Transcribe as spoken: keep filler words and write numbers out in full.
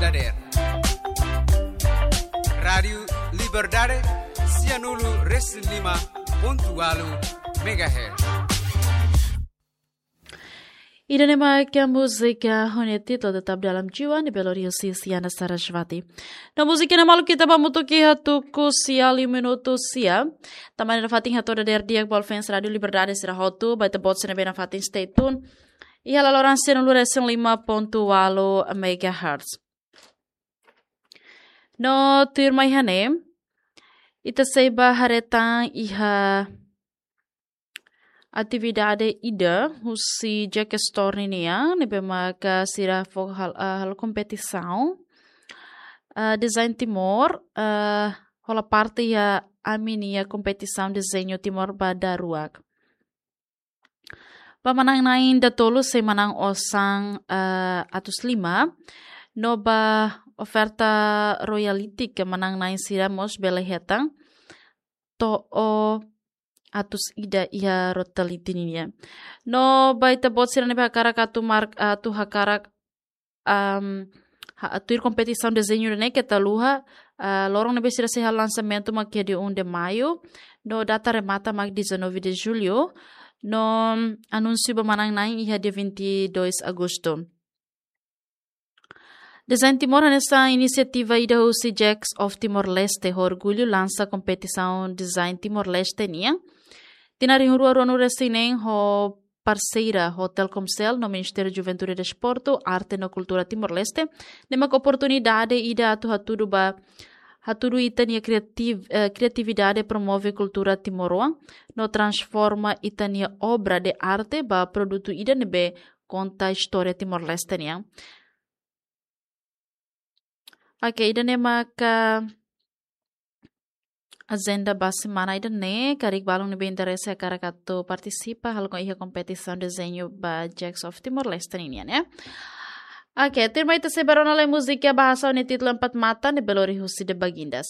dadeer. Rádiu Liberdade, sianulu resin lima pontu walu megahertz. Ida-ne'e mak múzika ho nia títulu Tetap Dalam Jiwa, ne'ebé lori husi Isyana Sarasvati. No múzika ne'e maluk ita ba hamutuk iha tuku sia liu minutu sia. Tanba ne'e nafatin hato'o dadeer di'ak ba fans Rádiu Liberdade sira hotu, ba ita-boot sira ne'ebé nafatin stay tune iha laloran sianulu resin lima pontu walu megahertz. No tuirmai iha ne'e, ita sei ba haree tan iha atividade ida husi Jack Store nian, ne'ebé maka sira fó hal-, ah, halo kompetisaun, ah, Design Timor, ah, hola parte iha ami-nia kompetisaun dezeñu Timor ba daruak. Ba manán-na'in datolu sei manán osan, eh, atus lima, no ba oferta royalty ke manán-na'in sira mós bele hetan to'o atus ida iha royalty nian. No ba ita-boot sira ne'ebé hakarak atu mar-, atu hakarak, am, ha-, tuir kompetisaun dezeñu ne'e keta haluha, ah, loron ne'ebé sira sei halo lansamentu mak iha dia um de maio, no data remata mak dezanove de julho, no anúnsiu ba manán-na'in iha dia vinte e dois agosto. Design Timor hanesan inisiativa ida husi Jacks of Timor-Leste ho orgullu lansa kompetisaun Design Timor-Leste nian. Tinan rihun rua ruanulu resin neen ho parseria ho Telkomcel no Ministériu Juventude, Desportu, Arte no Kultura Timor-Leste, ne'e mak oportunidade ida atu hatudu ba, hatudu ita-nia kreativ-, eh, kreatividade, promove kultura timoroan, no transforma ita-nia obra de arte ba produtu ida ne'ebé konta istória Timor-Leste nian. Oke, ida-ne'e maka ajenda ba semana ida-ne'e, karik balun ne'ebé interese hakarak atu partisipa, halo iha kompetisaun dezeñu ba Jacks of Timor-Leste nian, ya. Oke, tuirmai ita sei ba rona lai múzika bahasa ho nia títulu Empat Mata, ne'ebé lori husi The Bagindas.